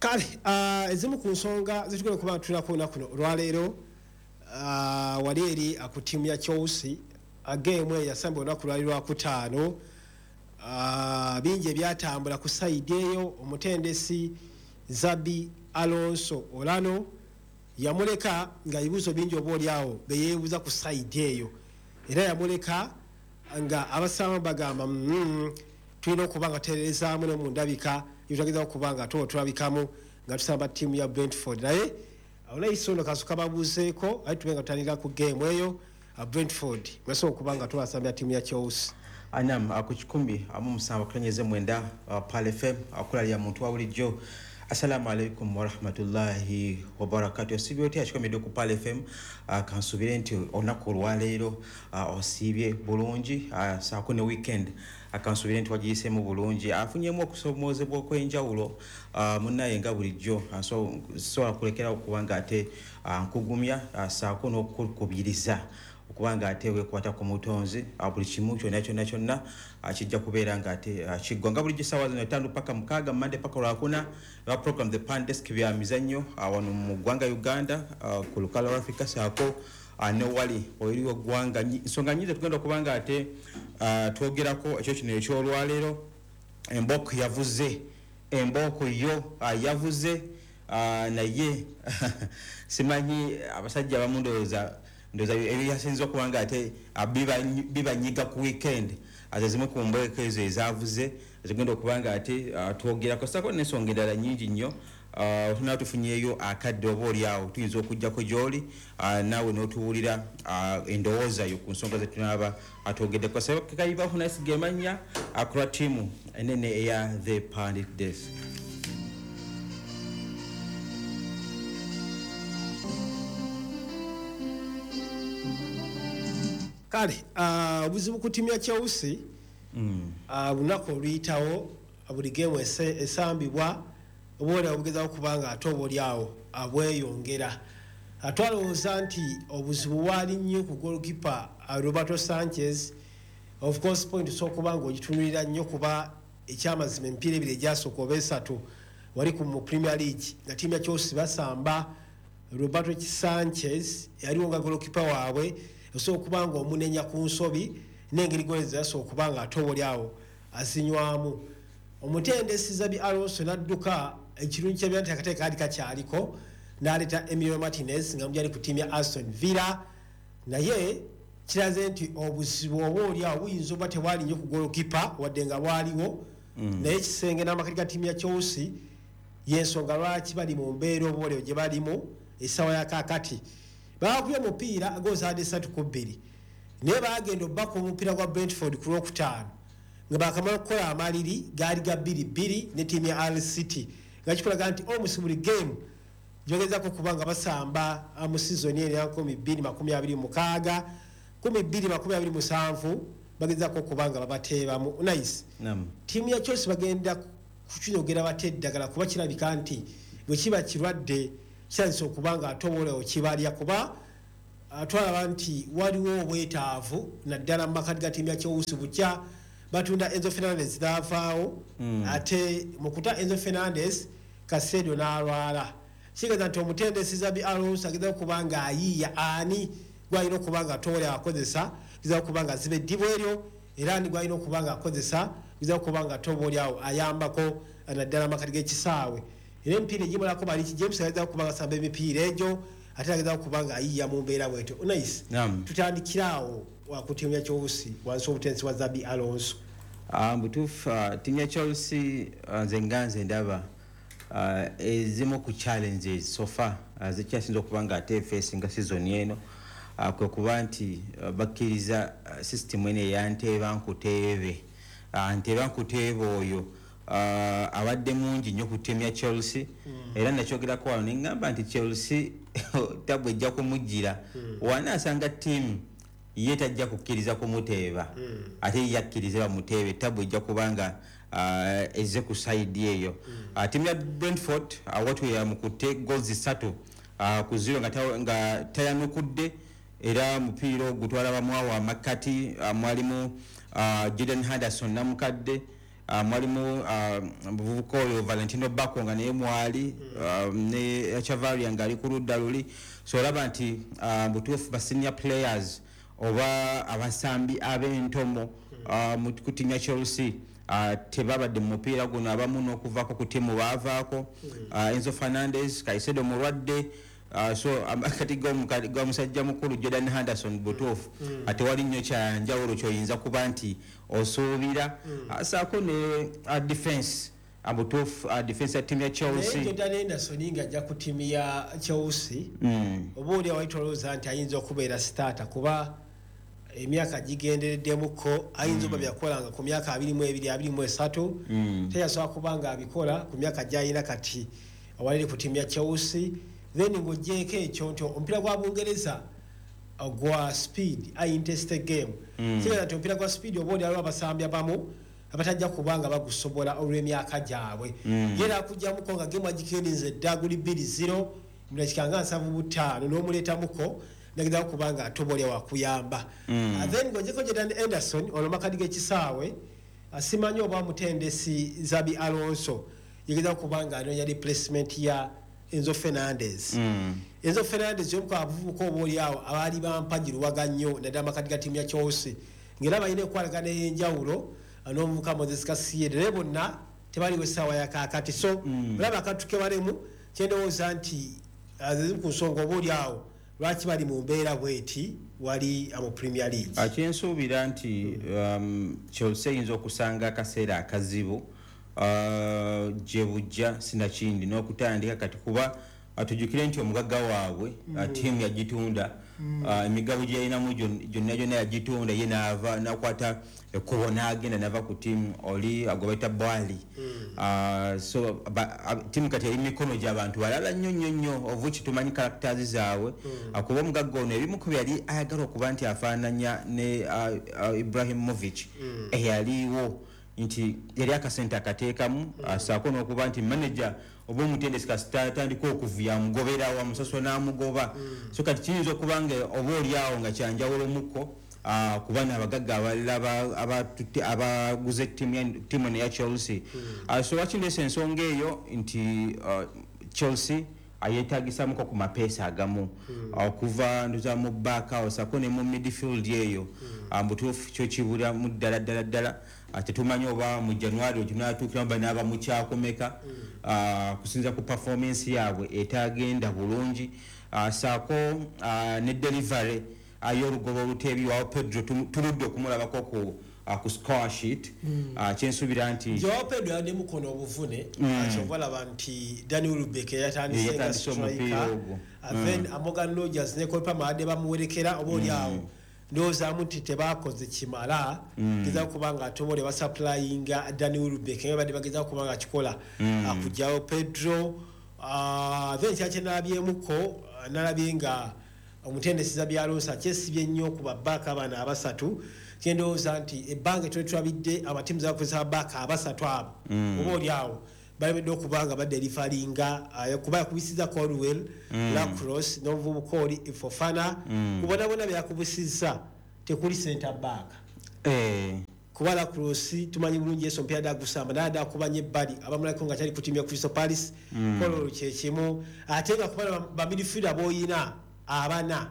Kale ezimu ku nsonga zetugenda okuba tulako olunaku kuno olwaleero, wali eri ku ttiimu ya Chelsea, geemu eyo yasamba olunaku lwali lwakutaano. Bingi ebyatambula ku side eyo. Omutendesi Xabi Alonso olano yamuleka nga ebibuuzo bingi oba oliawo beyeebuuza ku side eyo, era yamuleka nga abasaamu bagamba, tulina okuba nga tuterezaamu ne mu ndabika yetwageza okuba nga tuba tulabikamu nga tusamba ttiimu ya Brentford." Naye onayiso ono kasuka babuuzeeko, aye tube nga tutandika ku geemu eyo, Brentford mwesobola okuba nga tubasambya ttiimu ya Chelsea. Anam ku 107.9 Pal FM, akulalya muntu wa bulijjo. Assalamu alaikum warahmatullahi wabarakatu. Osiibye otya akikomedde ku Pal FM? Kansuubire nti olunaku olwaleero osiibye bulungi, saako ne weekend kansuubire nti wagiyiseemu bulungi. Afunyemu okusomoozebwa okw'enjawulo munnaye nga bulijjo, so sobola kulekerawo okuba nga ate nkugumya, saako n'okukubiriza okuba nga ate weekwata ku mutonzi. Buli kimu kyonna kyonna kyonna kijja kubeera nga ate kiggwa nga bulijjo. Essaawa zino 5 paka 6, Mande paka Lwakuna, lwa program The Pan Desk, bya mizannyo wano mu ggwanga Uganda, ku lukalo lwa Africa, saako ne wali eri eggwanga. Nsonga nyingi tugenda okuba nga ate twogerako ekyo kino ekyolwaleero. Embooko yavuze, embooko yo yavuze, naye simanyi abasajja abamu ndowooza ebyasinza okuba nga ate bibanyiga ku weekend. Aze zimu ku mbeeko ezo ezavuze zigenda okuba nga ate twogerako, sako n'ensonga endala nyingi nnyo. Tunaba tufunyeeyo akadde oba oliawo tuyinza okugjako gy'oli, naawe n'otuwulira endowooza yo ku nsonga zetunaaba atwogeddeko. Kayibaho nasiga emanya akulwa ttiimu enene eya The Pandit Desk. Kale obuzibu ku ttiimu ya Chelsea, lunaku oluyitawo buli geemu esambibwa oba obugezaako kuba nga ate oba oliawo bweyongera. Twalowooza nti obuzibu bwali nnyo ku goalkeeper Roberto Sanchez. Of course point osobola okuba nga ogitunulira nnyo, kuba ekyamazima emipiira ebiri egyasooka oba esatu wali ku mu Premier League nga ttiimu ya Chelsea basamba, Roberto Sanchez yaliwo nga goalkeeper waabwe. Osobola okuba nga omunenya ku nsobi n'engeri gole zeyasobola okuba nga ate oba oliawo azinywamu. Omutendesi Xabi Alonso n'adduka, ekirungi kyabya nti akatale kaali kakyaliko, n'aleeta Emiliano Martinez nga mujali ku ttiimu ya Aston Villa. Naye kiraze nti obuzibu oba oliawo buyinza oba tebwali nnyo ku goalkeeper, wadde nga bwaliwo, naye ekisenge n'amakati ga ttiimu ya Chelsea yensonga lwaki bali mu mbeera oba oliawo gye balimu essaawa ya kaakati. Bakubye omupiira gozaadde 3-2, naye bagenda obbaka omupiira gwa Brentford ku Lwokutaano nga bakamala okukola amaliri gaali ga 2-2 ne ttiimu ya Al City, nga kikulaga nti almost buli game gyebagezako okuba nga basamba mu sizoni eno ya 2026 2027 bagezako okuba nga babateebamu. Nice. Ttiimu ya Chelsea bagenda kukinyogera bate eddagala, kuba kirabika nti bwe kiba kirwadde kirabisa okuba nga ate obaolyawo kibalya, kuba twalaba nti waliwo obwetaavu naddala mu makati ga ttiimu ya Chelsea bukya batunda Enzo Fernandez n'avaawo. Ate mu kuta Enzo Fernandez, Caicedo n'alwala. Kitegeeza nti omutendesi Xabi Alonso ageza okuba nga ayiiya ani gwalina okuba nga toole akozesa geza okuba nga aziba eddibu eryo, era ani gwalina okuba nga akozesa geza okuba nga toba oliawo ayambako naddala amakati g'ekisaawe. Era emipiira egimalako bali James ageza okuba nga asamba emipiira egyo, ate ageza okuba nga ayiiya mu mbeera bwetyo. Nice. Tutandikire awo ku ttiimu ya Chelsea wansi w'obutendesi bwa Xabi Alonso. Butuufu, ttiimu ya Chelsea, nze nga nze ndaba ezimu ku challenges so far zikyasinza okuba nga ate facinga season eno, kwe kuba nti bakkiriza system eno eya nteeba nkuteebe. Nteeba nkuteebe oyo abadde mungi nnyo ku ttiimu ya Chelsea. Era nakyogerako wano neŋŋamba nti Chelsea tabu ejja kumujjira wanaasanga ttiimu ye tajja kukkiriza kumuteeba, ate ye yakkiriza bamuteebe, tabu ejja kubanga ezze ku side eyo. Ttiimu ya Brentford watu yamukutte goals 3-0 nga tayanukudde, era mupiira ogwo twalaba mwawo amakkati mwalimu Jordan Henderson namukadde. Mwalimu muvubuka oyo Valentino Bako nga naye mwali, ne Chavaria nga ali ku ludda luli. So olaba nti butuufu ba senior players oba abasambi ab'entomo mu ku ttiimu ya Chelsea tebabadde mu mupiira guno. Abamu n'okuvaako ku ttiimu baavaako. Enzo Fernandez, Caicedo mulwadde. So kati ga musajja mukulu Jordan Henderson, butuufu tewali nnyo kyanjawulo kyoyinza kuba nti osuubira. Saako ne defense, butuufu defense ya ttiimu ya Naye Chelsea. Jordan Henderson nga ajja ku ttiimu ya Chelsea, oba oli awali tolowooza nti ayinza okubeera starter, kuba emyaka gigendereddemuko. Ayinza oba byakolanga ku myaka 22, 23, teyasobola kuba nga abikola ku myaka gyalina kati awaliri ku ttiimu ya Chelsea. Then ng'ogyeko ekyo nti omupiira gwa Bungereza gwa speed, high intensity game. Kitegeeza nti omupiira gwa speed oba oli aliwo abasambi abamu abatajja kuba nga bagusobola olw'emyaka gyabwe. Yera akugjamuko nga gemu agikendinze dda, guli 2-0 mu dakika nga 75, n'omuleetamuko nageza kuba nga atobolya wakuyamba. Then ng'ogyeko Jordan Henderson, ono makadi g'ekisaawe, simanyi oba mutendesi Xabi Alonso yegeza kuba nga anoonya replacement ya Enzo Fernandez. Enzo Fernandez yomu ku abavubuka oba oli awo abaali bampagiruwaga nnyo, naddala amakadi ga ttiimu ya Chelsea, ng'era balina enkwatagana ey'enjawulo n'omuvubuka Moses Caicedo, naye bonna tebaliwo essaawa ya kaakati. So olaba akantu ke balemu, kyendowooza nti zimu ku nsonga oba oli awo lwaki bali mu mbeera bweti wali mu Premier League. Kyensuubira nti Chelsea eyinza okusanga akaseera akazibu gye bujja, sinakindi n'okutandika kati, kuba tujjukire nti omugagga waabwe ttiimu yagitunda. Emigabo gye yalinamu gyonna gyonna yagitunda, ye naava nakwata ekkubo n'agenda, nava ku ttiimu oli gwe bayita Boehly. So ttiimu kati eri mu mikono gy'abantu balala nnyo nnyo nnyo, ovuki tumanyi characters zaabwe. Kuba omugagga ono ebimu ku byali ayagala okuba nti afaananya ne Ibrahimovic eyaliwo, nti yali akasente akateekamu, saako n'okuba nti manager oba omutendesi kasita atandika okuvuya amugoberawo, amusasula n'amugoba. So kati kiyinza okuba nga oba oli awo nga kyanjawulo mukko, kuba n'abagagga abalala abaguze ttiimu eno eya Chelsea. So wakindeesa ensonga eyo nti Chelsea ayeetagisamuko ku mapeesa agamu okuva nduza mu back awo, saako ne mu midfield eyo. Mubutuufu kyo kibulamu ddala ddala ddala. Tetumanyi oba mu January otunaatuukiramu banaaba mukyakomeka, kusinza ku performance yaabwe etagenda bulungi. Saako ne delivery y'olugoba oluteebi wawo Pedro, tuludde okumulabako ku score sheet. Kyensuubira nti Joao Pedro yadde mukono obuvune. Kyova laba nti Danny Welbeck yatandise nga Yatandise omupiira striker. ogwo. Then Morgan Rogers ne Cole Palmer badde bamuwerekera, oba oli awo ndowoozamu nti tebakoze kimala gezaako kuba nga ate oba oli basupplyinga Danny Welbeck nga badde bagezaako kuba nga akikola kugyawo Pedro. Then kyakye nalabyemuko, nalabye nga omutendesi Xabi Alonso akyesibye nnyo ku babaaka bano abasatu. Kyendowooza nti ebbanga etwali tulabidde amatiimu zakozesa babaaka abasatu abo, oba oli awo balemedde okuba nga badeliveringa, kuba yakubisiza Colwill, Lacrosse n'omuvubuka oli Fofana. Kubonabona byakubisizza tekuli center back, kuba Lacrosse tumanyi bulungi yesu omupiira dagusamba naye adakubanya ebbali, abamulako nga kyali ku ttiimu ya Crystal Palace. Colwill kyekimu, ate nga kuba bamidfielder boyina abana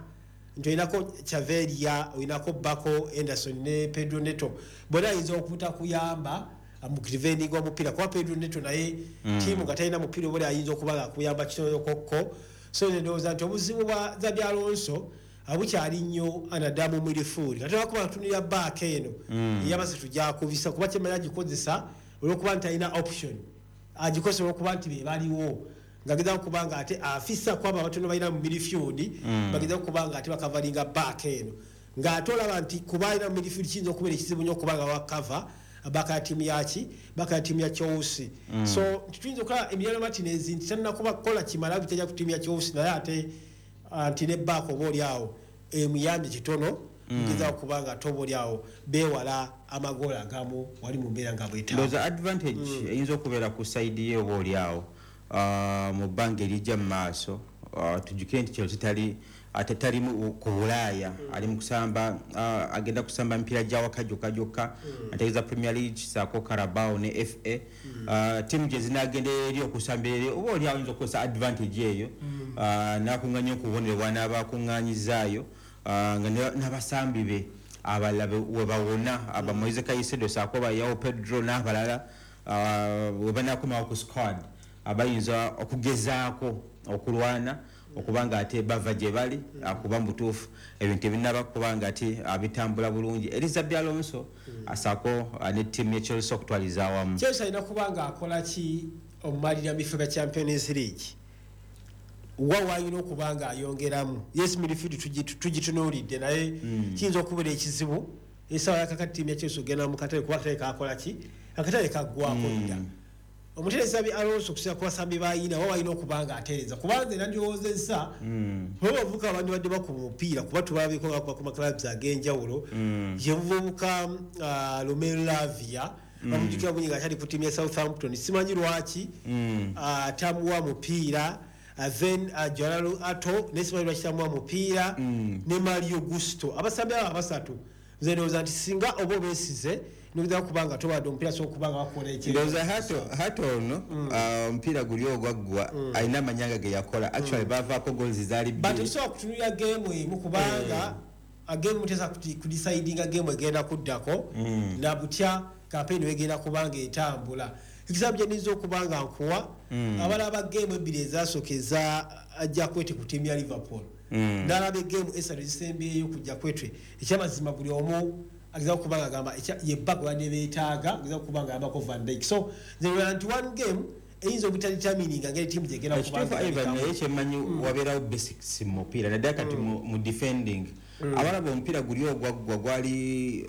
nti olinako Chavarria, olinako Bako, Henderson ne Pedro Neto, bonna ayinza okutakuyamba mu defending omupiira, kuba Pedro Neto naye tiimu nga talina mupiira oba oli ayinza okuba nga akuyamba kitono. So ndowooza nti obuzibu bwa Xabi Alonso bukyali nnyo anaddamu midfield, ate lwakuba atunulira baaka eno eyabasatu gyakubisa, kuba kyemanya agikozesa olwokuba nti alina option, agikozesa olwokuba nti be baliwo, ng'agezaako kuba nga ate afisa kwabo abatono balina mu midfield, bagezaako kuba nga ate bakavalinga baaka eno, ng'ate olaba nti kuba alina mu midfield kiyinza okubeera ekizibu nnyo okuba nga wakava baaka ya ttiimu yaki, baaka ya ttiimu ya Chelsea. So nti tuyinza okulaba Emiliano Martinez nti tannakuba kukola kimala bitajja ku ttiimu ya Chelsea, naye ate nti ne baaka oba oli awo emuyambye kitono mugezaako kuba nga ate oba oli awo beewala amagoolo agamu wali mu mbeera nga bwetaaga. Ndowooza advantage eyinza okubeera ku side ye oba oli awo mu bbanga erijja mu maaso, tujjukire nti Chelsea tali Ate tali ku Bulaaya, ali mu kusamba, agenda kusamba emipiira gya waka gyokka gyokka, ategeeza Premier League saako Carabao ne FA. Ttiimu gye zinaagenda eri okusambira eri, oba oli ayinza okukozesa advantage eyo, n'akuŋŋaanya okubonero bw'anaaba akuŋŋaanyizaayo, nga n'abasambi be abalala we bawona, aba Moise Caicedo saako ba Joao Pedro n'abalala, we banaakomawo ku squad, abayinza okugezaako okulwana okubanga ate bava gye bali, kuba mu butuufu ebintu ebinnaba kubanga ate bitambula bulungi eri Xabi Alonso asaako ne ttiimu ya Chelsea okutwaliza awamu. Chelsea alina kuba nga akola ki omumalira mu bifo bya Champions League? Wa wayina okuba nga ayongeramu? Yes, midfield tugitunuulidde, naye kiyinza okubeera ekizibu essaawa yakakati ttiimu ya Chelsea ogenda mu katale, kuba akatale kakola ki? Akatale kaggwako dda. Omuterezi Xabi Alonso, okusinza ku basambi bayina, wa walina okuba nga atereeza? Kubanze nandirowoozezza oba bavubuka abandibadde bakuba omupiira, kuba tubalabiko nga bakuba ku maclubs ag'enjawulo. Ye muvubuka Romeo Lavia, bamujjukira bungi nga akyali ku ttiimu ya Southampton. Simanyi lwaki tamuwa mupiira. Then Jorrel Hato naye simanyi lwaki tamuwa mupiira, ne Malo Gusto. Abasambi abo abasatu, nze ndowooza nti singa oba obeesize nogeza kuba nga tobadde omupiira, so okuba nga bakola Ndowooza Hato ono, omupiira guli ogwaggwa, alina amanyanga ge yakola. Actually bavaako goals zaali But bbiri. Tetusobola kutunulira geemu emu, kubanga geemu mutesa kudecidinga geemu egenda kuddako na butya kampeyini wegenda kubanga etambula. Ekisambu gye niyinza okuba nga nkuwa, abalaba geemu ebbiri ezasooka eza Jakwete ku ttiimu ya Liverpool, n'alaba egeemu esatu ezisembyeyo ku Jakwete, ekyamazima buli omu ageza okuba nga agamba ye bba gwe badde beetaaga, ageza okuba nga ayambako Van Dijk. So nze ndowooza nti one game eyinza obutadetermininga ngeri ttiimu gyegenda kuba Ekituufu nga Ivan, erabikamu. Naye kyemmanyi, wabeerawo basics mu mupiira, naddala kati mu defending. Abalaba omupiira guli ogwaggwa gwali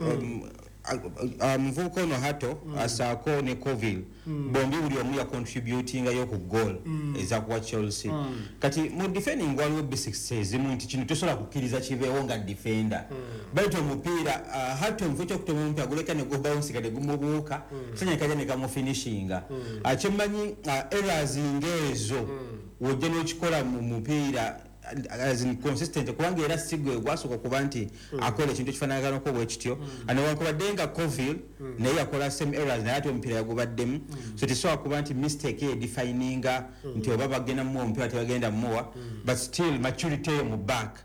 muvubuka ono Hato asaako ne Colwill, bombi buli omu yacontributingayo ku goal ezakuwa Chelsea. Kati mu defending waliwo basics ezimu nti kino tosobola kukkiriza kibeewo nga defender. Baitu omupiira, Hato mu kifo kyokutoma omupiira guleka ne gubouncing ne gumubuuka, sanya kaja ne kamufinishinga. Kyemmanyi, errors ng'ezo wojja n'okikola mu mupiira as in consistent, kubanga era si gwe gwasooka okuba nti akola ekintu ekifaanaganako bwe kityo. Newankubadde nga Colwill naye yakola same errors, naye ate omupiira yagubaddemu. So tesobola kuba nti mistake ye defininga nti oba bagenda mumuwa omupiira, tebagenda mumuwa, but still maturity eyo mu back,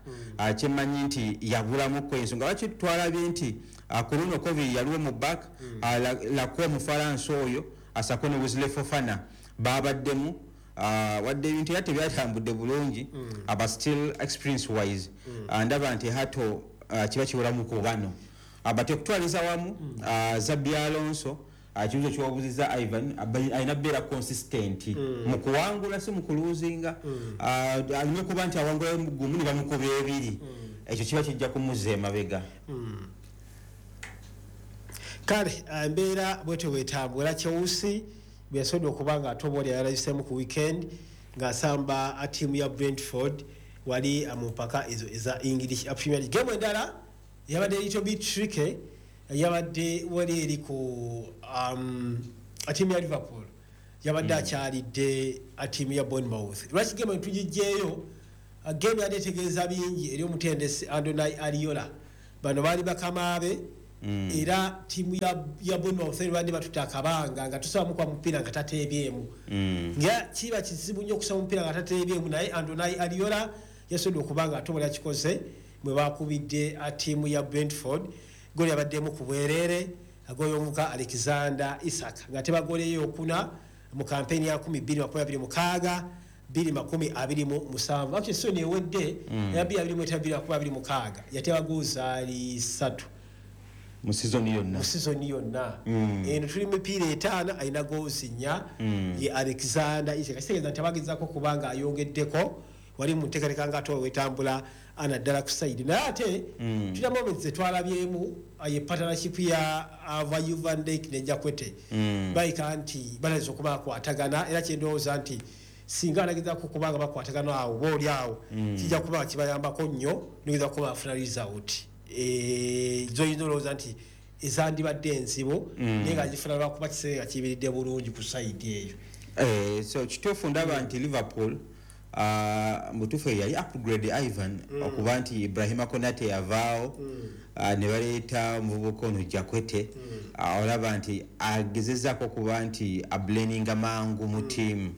kyemmanyi nti yabulamuko. Ensonga lwaki twalabye nti ku luno Colwill yaliwo mu back, Lacroix omufalansa oyo asako ne Wesley Fofana babaddemu, wadde ebintu era tebyatambudde bulungi, but still experience wise, ndaba nti Hato kiba kiweramu ku bano. But okutwaliza wamu, Xabi Alonso, ekibuzo kiwabuziza Ivan, alina kubeera consistent mu kuwangula, si mu kuluzinga. Alina okuba nti awangula gumu ne bamukuba ebiri, ekyo kiba kijja kumuzza emabega. Kale embeera bwetyo bwetambula. Chelsea bweyasobodde okuba nga ate oba oli yalabiseemu ku weekend ng'asamba ttiimu ya Brentford wali mu mpaka ezo eza English Premier League. Gemu endala yabadde little bit tricky, yabadde wali eri ku ttiimu ya Liverpool, yabadde akyalidde ttiimu ya Bournemouth. Lwaki gemu tugijjeeyo? Gemu yadde etegeeza bingi eri omutendesi Andoni Iraola. Bano baali bakamaabe, era ttiimu ya Bournemouth eri badde batuta akabanga nga tusaba mukuba mupiira nga tateebyemu, nga kiba kizibu nnyo okusaba omupiira nga tateebyemu. Naye Andoni Iraola yasobodde okuba nga ate obali akikoze bwe bakubidde ttiimu ya Brentford goli yabaddemu ku bwereere, agoli omuvuka Alexander Isak nga tebagoleyo okuna mu kampeyini ya 2026 2027. Actually season ewedde ya 2025 26 yateba goals zaali 3 mu sizoni yonna. Mu sizoni yonna eno tuli mipiira 5, alina goals 4 ye Alexander Isak. Kitegeeza nti abagezaako kubanga ayongeddeko wali mu nteekateeka nga ate wetambula anaddala ku side. Naye ate tulina moments zetwalabyemu ye partnership ya Virgil van Dijk ne Jakwete, bayika nti balayinza okuba bakwatagana, era kyendowooza nti singa alagezaako kubanga bakwatagana awo oba oli awo, kijja kuba kibayambako nnyo nogeza kuba bafuna result zoyinza olowooza nti ezandibadde enzibu, naye nga gifuna lwakuba kiseera kiyimiridde bulungi ku side eyo. So kituufu, ndaba nti Liverpool Mutuufu yali upgrade Ivan, okuba nti Ibrahima Konate yavaawo, ne baleeta omuvubuka ono Jakwete. Olaba nti agezezaako okuba nti ablendinga mangu mu ttiimu,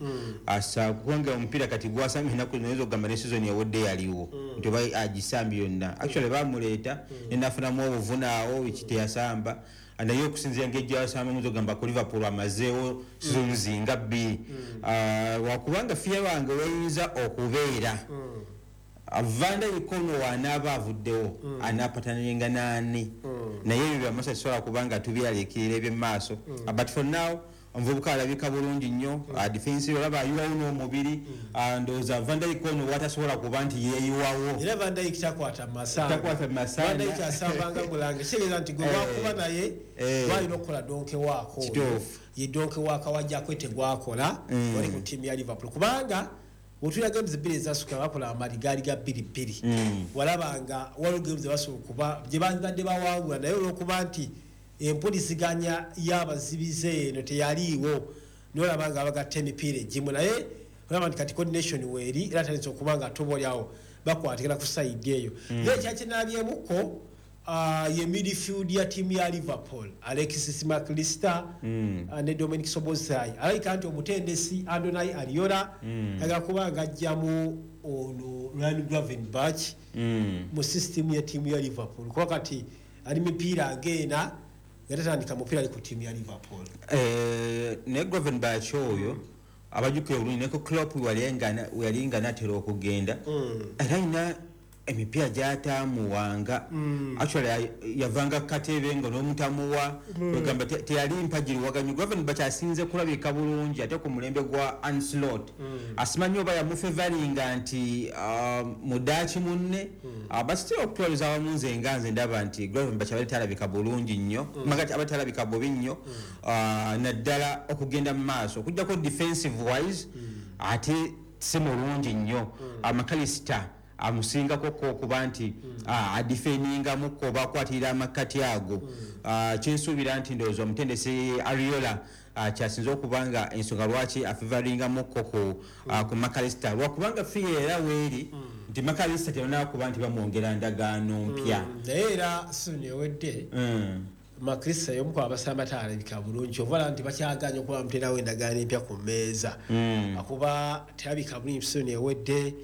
kubanga omupiira kati gwasambye ennaku zino oyinza okugamba ne season ewedde yaliwo, nti oba agisambye yonna. Actually bamuleeta nenafunamu obuvunaawo eki teyasamba, naye okusinziira ngeri gyasamba muyinza okugamba ku Liverpool amazeewo seasons nga 2, wakubanga fear wange weyinza okubeera Van Dijk ono wanaaba avuddewo anaapatananinga naani? Naye ebyo byamasa kisobola kubanga tubyalekirira ebyemaaso, but for now omuvubuka alabika bulungi nnyo. Defensive olaba ayiwawo n'omubiri. Ndowooza Van Dijk ono watasobola kuba nti yeeyiwawo. Era Van Dijk takwata masanga. Takwata masanga. Van Dijk asambanga mulange, kitegeeza nti gwe wakuba naye walina okukola donke waako. Ye donke waako wajjako tegwakola wali ku ttiimu ya Liverpool, kubanga bw'otuulira games 2 ezasukka bakola amali gaali ga 2-2. Walabanga waliwo games zebasobola okuba gye bandibadde bawangula, naye olw'okuba nti empuliziganya y'abazibize eno teyaliiwo, nolaba nga bagatta emipiira egimu, naye olaba nti kati coordination weeri era tandise okuba nga ate oba oliawo bakwatikira ku sayidi eyo. Naye ekyakinabyemuko ye midfield ya ttiimu ya Liverpool, Alexis McAllister ne Dominic Szoboszlai. Alabika nti omutendesi Andoni Iraola ayagala kuba nga ajjamu ono Ryan Gravenberch mu system ya ttiimu ya Liverpool, kuba kati ali mipiira ng'ena nga tatandika mupiira ali ku ttiimu ya Liverpool. Naye Gravenberch oyo abajjukira obulungi neko Klopp weyali nga natera okugenda, era alina emipiira gyatamuwanga. Actually yavanga katebe nga n'omutamuwa, ogamba teyali mpagiriwaganyo. Gravenberch asinze kulabika bulungi ate ku mulembe gwa Arne Slot. Asimanyi oba yamufevalinga nti mudaaki munne, but still okutwaliza awamu nze nga nze ndaba nti Gravenberch abadde talabika bulungi nnyo, magati abadde talabika bubi nnyo, naddala okugenda mu maaso okujjako defensive wise ate si mulungi nnyo. McAllister amusingako ko okuba nti adefendingamuko oba akwatirira amakkati ago. Kyensuubira nti ndowooza omutendesi Iraola kyasinze okuba nga ensonga lwaki afevaringamuko ku McAllister, lwakubanga fear era weeri nti McAllister tebannaba kuba nti bamwongera ndagaano mpya. Naye era season ewedde McAllister y'omu ku abasamba talabika bulungi, oba nti bakyaganye okuba bamuterawo endagaano empya ku mmeeza, akuba terabika bulungi season ewedde.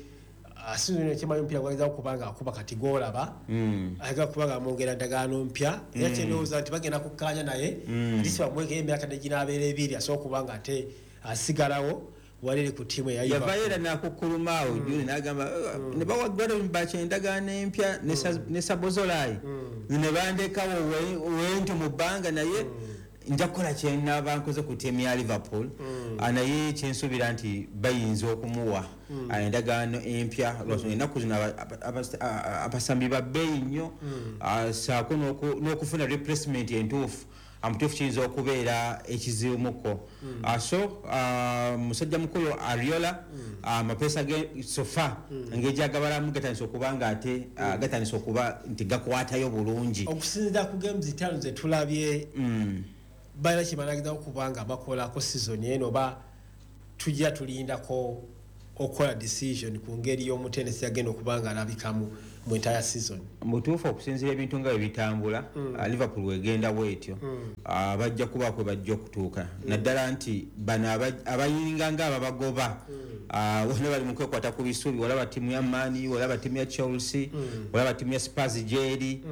Season eno kyemanyi omupiira gwageza okuba nga akuba kati gw'olaba ayagala kuba nga amwongera ndagaano mpya, era kyendowooza nti bagenda kukkaanya naye ati bamwekeo emyaka neginaabeera 2 asobola okuba nga ate asigalawo walere ku ttiimu eya Yavayo Liverpool. Era n'akukkuluma awo juni n'agamba, ne bawa Gravenberch endagaano empya ne Szoboszlai ne bandekawo wenti mu bbanga, naye nja kukola kyenaaba nkoze ku ttiimu ya Liverpool. Naye kyensuubira nti bayinza okumuwa endagaano empya, lwansonga ennaku zino abasambi ba bbeeyi nnyo, ssaako n'okufuna replacement entuufu amutuufu kiyinza okubeera ekizibuko. So musajja mukulu Iraola, amapeesa ge so far engeri gyagabalamu gatandise okuba nga ate gatandise okuba nti gakwatayo bulungi. Okusinziira ku games 5 ze tulabye, balina kye banagezaako okuba nga bakolako season eno, oba tujja tulindako okukola decision ku ngeri y'omutendesi yagenda okuba nga alabikamu mu entire season? Mutuufu, okusinziira ebintu nga bwe bitambula, Liverpool wegenda bwetyo, bajja kuba kwe bajja okutuuka, naddala nti bano abayinga nga ababagoba bonna bali mu kwekwata ku bisubi. Olaba ttiimu ya Man U, olaba ttiimu ya Chelsea, olaba ttiimu ya Spurs gyeri,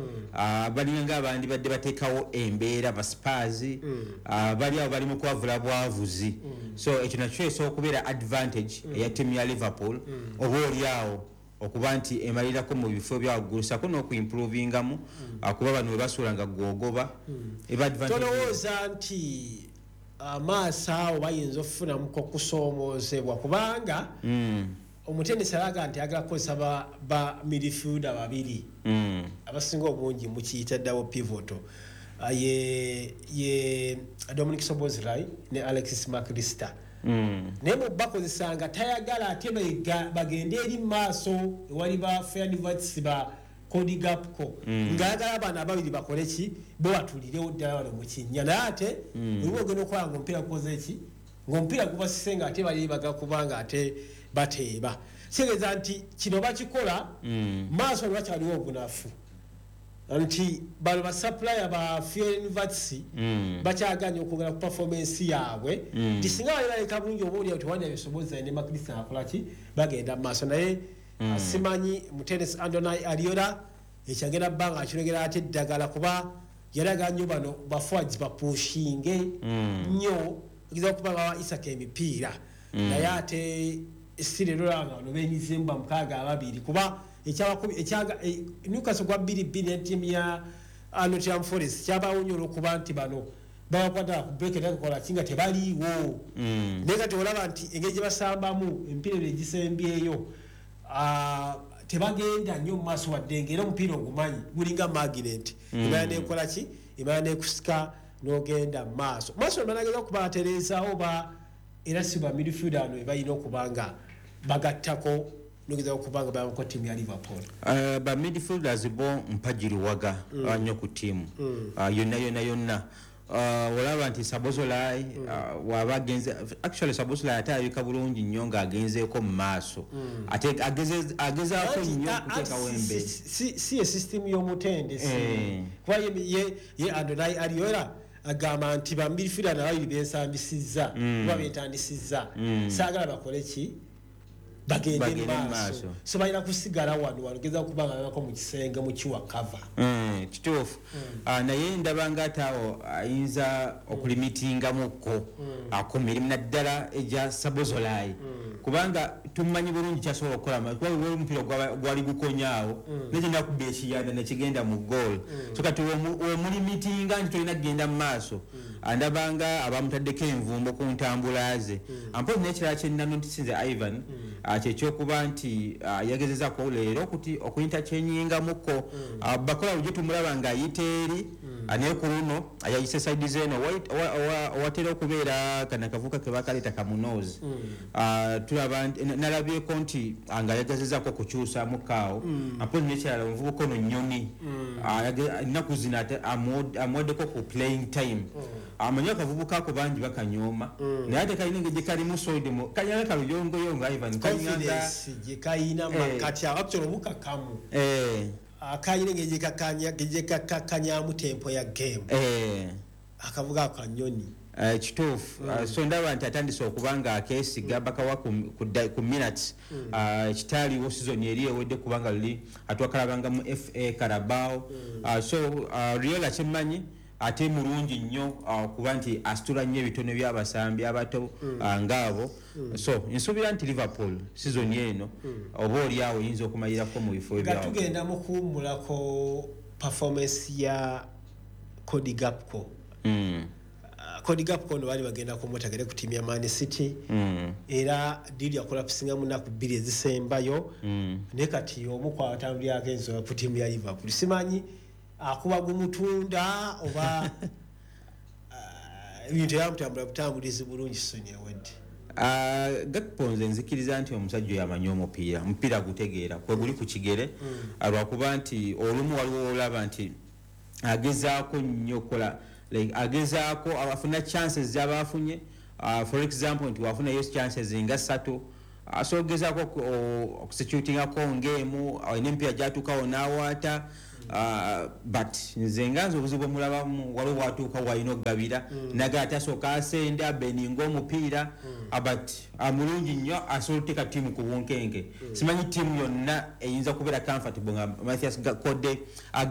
balinga nga abandi badde bateekawo embeera ba Spurs, bali awo bali mu kwavula bwavuzi. So ekyo nakyo esobola okubeera advantage eya ttiimu ya Liverpool, oba oli awo okuba nti emalirako mu bifo bya waggulu ssaako n'okuimprovingamu, kuba bano we basuula nga gwogoba eba advantage. Tolowooza nti amaaso awo bayinza okufunamuko okusoomoozebwa, kubanga omutendesi alaga nti ayagala kukozesa ba midfielder babiri abasinga obungi mukiyita double pivot, ye Dominic Szoboszlai ne Alexis McAllister, naye mu bakozesanga tayagala ate bagende eri mu maaso ewali ba Florian Wirtz, ba Cody Gakpo, ng'ayagala abaana ababiri bakole ki, bo batulirewo ddala wano mu kinnya, naye ate oliba ogenda okukola nga omupiira gukoze ki, Ng'omupiira gubasise nga ate bali bagakuba nga ate bateeba. Kitegeeza nti kino bakikola maaso lwakyaliwo obunafu nti bano basupplier ba Florian Wirtz bakyaganye okwongera ku performance yaabwe, nti singa bali baleka bulungi oba oliawo tewandabye Szoboszlai ne Mac Allister akolaki bagenda mu maaso. Naye simanyi mutendesi Andoni Iraola ekyagenda bba nga akirogera ate eddagala, kuba yalaga nnyo bano baforwards bapushinge nnyo ogeza okuba nga bawa Isak emipiira, naye ate si leero nga bano benyizemu ba 62, kuba Newcastle gwa 2-2 ne ttiimu ya Nottingham Forest kyabaawo nnyo olw'okuba nti bano babakwata ku break kola ki nga tebaliiwo. Naye kati olaba nti engeri gye basambamu emipiira ebyo egisembyeyo, tebagenda nnyo mu maaso, wadde nga era omupiira ogumanyi gulinga magnet, emala nekola ki, emala nekusika n'ogenda mu maaso maaso. Banageza okuba batereezaawo ba era si ba midfield ano ebalina okuba nga bagattako nogeza okuba nga bayambako ttiimu ya Liverpool. Ba midfielders bo mpagiriwaga nnyo ku ttiimu yonna yonna yonna. Olaba nti Szoboszlai waba agenze, actually Szoboszlai ate alabika bulungi nnyo ng'agenzeeko mu maaso, ate agezaako nnyo okuteekawo embeera. Si ye system y'omutendesi, kuba ye Andoni Iraola agamba nti ba midfielder nababiri bensambisizza kuba betandisizza, saagala bakole ki, bagende Bagende mu mu maaso. Maaso. So balina kusigala wano wano geza kuba nga babako mu kisenge mu kiwa cover. Kituufu. Naye ndaba nga ate awo ayinza okulimitingamukko ku mirimu naddala egya Szoboszlai, kubanga tumanyi bulungi kyasobola okukola, kuba waliwo omupiira gwali gukonyaawo naye nakuba ekiyanda nekigenda mu goal. So kati womulimitinga nti tolina kugenda mu maaso, ndabanga abamutaddeko envumbo ku ntambula ze. Ampozi n'ekirala kyenanotisinze, Ivan, kyekyokuba nti yagezezaako leero okuyinta kyenyingamukko. Bakola bulijjo tumulaba ng'ayita eri, naye ku luno yayise side zeeno owatera okubeera kana kavuka ke bakaleeta kamunoozi. Tulaba nalabyeko nti nga yagezezaako okukyusamu kaawo. Ampozi n'ekirala, omuvubuka ono Nyoni, ennaku zino ate amuwaddeko ku playing time. Amanyi akavubuka ako bangi bakanyooma, naye ate kalina engeri gye kalimu solid, kalina kaluyongoyongo, Ivan, kalina nga Confidence gye kayina makati awo, actually omukakamu akayina engeri gye kakakkanyamu tempo ya game. Akavuga ako kanyoni. Kituufu. So ndaba nti atandise okuba nga akeesiga bakawa ku minutes ekitaaliwo season eri ewedde, kubanga luli atwakalabanga mu FA Carabao. So Iraola kyemmanyi ate mulungi nnyo okuba nti asitula nnyo ebitono by'abasambi abato ngaabo. So nsuubira nti Liverpool season eno oba oli awo eyinza okumalirako mu bifo Nga ebyawagulu. tugenda mu kuwummulako, performance ya Cody Gakpo. Cody Gakpo ono baali bagenda kumutegere ku ttiimu ya Man City, era deal yacollapsinga mu nnaku 2 ezisembayo, naye kati omu kwatambulirako ensonga ku ttiimu ya Liverpool. Simanyi akuba gumutunda oba ebintu yamutambula butambulizi bulungi season ewedde. Gakpo nze nzikiriza nti omusajja oyo amanyi omupiira, omupiira gutegeera kwe guli ku kigere. Lwakuba nti olumu waliwo olaba nti agezaako nnyo okukola, like agezaako afuna chances zaba afunye. For example nti wafunayo chances nga 3, so ogezaako okusecuringako ng'emu alina emipiira gyatuukawo n'awaata. But nze nga nze obuzibu omulabamu waliwo watuuka walina okugabira naga ate asooka asenda beninga omupiira. But mulungi nnyo, asobola okuteeka ttiimu ku bunkenke. Simanyi ttiimu yonna eyinza kubeera comfortable nga Mathias Cody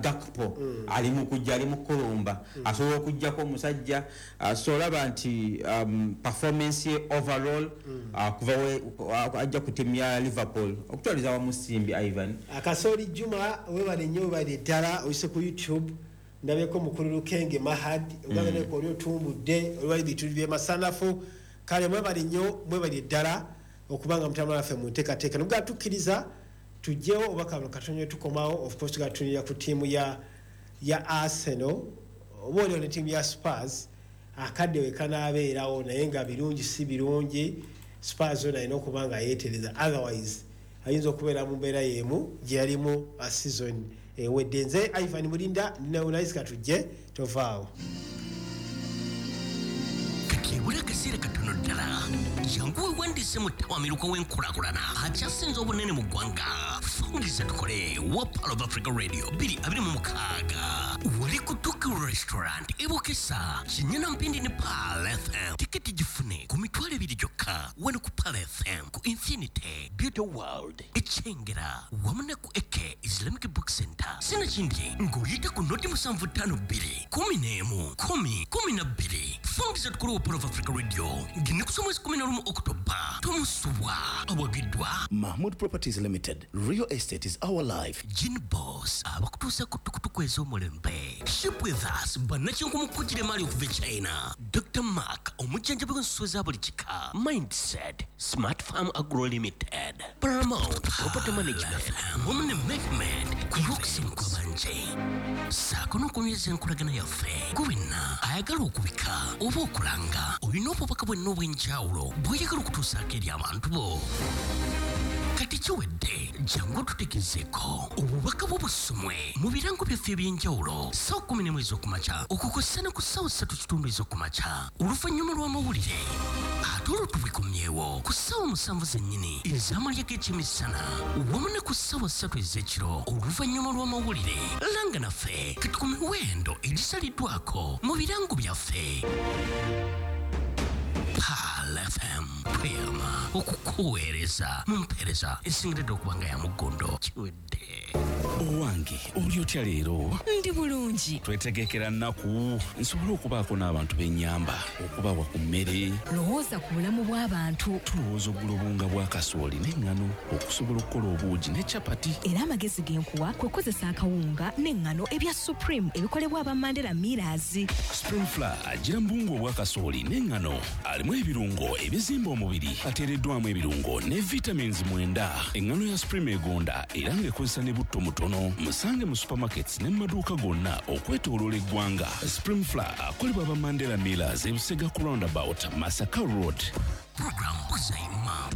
Gakpo ali mu kujja, ali mu kulumba, asobola okugjako omusajja. So olaba nti performance ye overall kuva ajja ku ttiimu ya Liverpool okutwaliza wamu simbi, Ivan. Akasoli Juma, webale nnyo, webale ddala. Oyise ku YouTube, ndabyeko mukulu Lukenge Mahad ogaganeko oli otumbudde olwali bitundu byemasanafu. Kale mwebale nnyo, mwebale ddala okubanga mutambula naffe mu nteekateeka. Nobugaa tukkiriza tugyewo oba kano katono tukomawo. Of course tugatunira ku ttiimu ya Arsenal oba oliwo ne ttiimu ya Spurs akadde we kanaabeerawo, naye nga birungi si birungi, Spurs ono alina okuba nga yeetereza, otherwise ayinza okubeera mu mbeera y'emu gye yalimu a season ewedde. Nze Ivan Mulinda, ndinawunayisika, tujje tovaawo. Kati Ebula akaseera katono ddala. Jangu weewandiise mu ttawamiruka w'enkulaakulana akyasinze obunene mu ggwanga. Fungiza tukole wa Pearl of Africa Radio 2026. Wali ku Tokyo Restaurant e Bukesa, Kinyana Mpindi ne Pearl FM. Tiketi gifune ku 20,000 gyokka wano ku Pearl FM, ku Infinity Beauty World e Kyengera wamu ne ku AK Islamic Book Center. Sinakindi ng'oyita ku 0752 11 10 12. Fungiza tukole wa Pearl of Africa Radio ng'ennaku z'omwezi 11 October. Tomusubwa awagiddwa Mahmood Properties Limited. Real estate is our life. Gin Boss abakutuusa ku tukutuku ez'omulembe. Ship with us bannakinku mukujira emaali okuva e China. Dr. Mark omujjanjabi w'ensolo za buli kika. Mindset Smart Farm Agro Limited. Paramount Property Management wamu ne Mehmed ku lw'okusiima kw'abanje. Ssaako n'okunyweza enkolagana yaffe. Gwe wenna ayagala okubika oba okulanga olina obubaka bwenna obw'enjawulo bw'oyagala okutuusaako eri abantu bo. Kati kiwedde, jangu tutegezeeko obubaka bw'obusomwe mu birango byaffe eby'enjawulo ssaawa 11 ez'okumakya okukosa ne ku ssaawa 3:15 ez'okumakya oluvannyuma lw'amawulire. Ate olwo tubikomyewo ku ssaawa 7 zennyini ez'amalya g'ekyemisana wamu ne ku ssaawa 3 ez'ekiro oluvannyuma lw'amawulire. Langa naffe kati ku miwendo egisaliddwako mu birango byaffe. Pearl FM tweyama okukuweereza mu mpeereza esingiridde okuba nga ya muggondo. Kiwedde. Owange oli otya leero? Ndi bulungi. Twetegekera nnaku nsobole okubaako n'abantu b'ennyamba okubawa ku mmere. Lowooza ku bulamu bw'abantu. Tulowooza okugula obuwunga bwa kasooli n'eŋŋano okusobola okukola obuugi ne capati. Era amagezi ge nkuwa kwe kukozesa akawunga n'eŋŋano ebya Supreme ebikolebwa aba Mandela Millers. Supreme Flour agira mu buwunga obwa kasooli n'eŋŋano alimu ebirungo ebizimba omubiri, ateereddwamu ebirungo ne vitamins 9. Eŋŋano ya Supreme egonda era ng'ekozesa ne butto mutono. Musange mu supermarkets ne mu maduuka gonna okwetooloola eggwanga. Supreme Flour akolebwa aba Mandela Millers e Busega ku roundabout Masaka Road. Program Buza Imam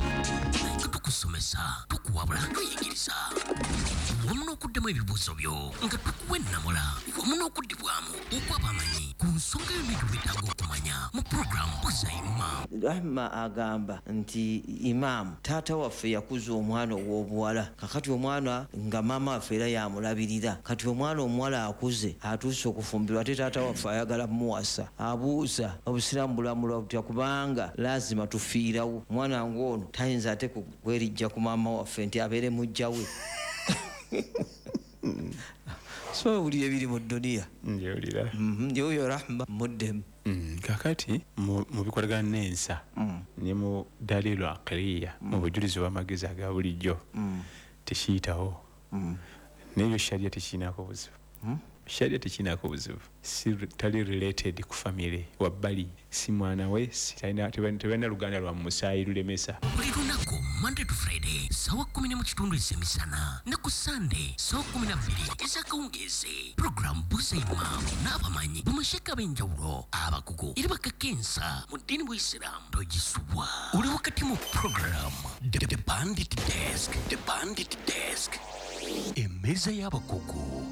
nga tukusomesa, tukuwabula, tuyigiriza wamu n'okuddamu ebibuuzo byo nga tukuwa ennamula wamu n'okuddibwamu okw'abamanyi ku nsonga yonna gy'obeetaaga okumanya mu program Buza Imam. Rahma agamba nti imaamu taata waffe yakuza omwana ow'obuwala, kakati omwana nga maama waffe era yamulabirira, kati omwana omuwala akuze atuuse okufumbirwa ate taata waffe ayagala muwasa. Abuuza obusiraamu bulamulwa butya kubanga lazima tufiirawo omwana ng'ono tayinza ate kwerijja ku maama waffe nti abeere mujja we. So buli ebiri mu dduniya njewulira ndi oyo Rahma muddemu. Kakati mu bikolagana n'ensa ne mu dalilu aqliya mu bujulizi bw'amagezi aga bulijjo tekiyitawo. N'ebyo sharia tekirinako buzibu. Sharia tekirinako buzibu. Si tali related ku family wabbali, si mwana we, tebalina luganda lwa musaayi lulemesa. Buli lunaku Monday to Friday ssaawa 10:15 ez'emisana ne ku Sunday ssaawa 12 ez'akawungeezi. Program Buza Imam n'abamanyi bamasheka ab'enjawulo abakugu era bakakensa mu ddiini bw'Isiraamu togisubwa. Oli wakati mu program The Bandit Desk, The Bandit Desk, emmeeza y'abakugu.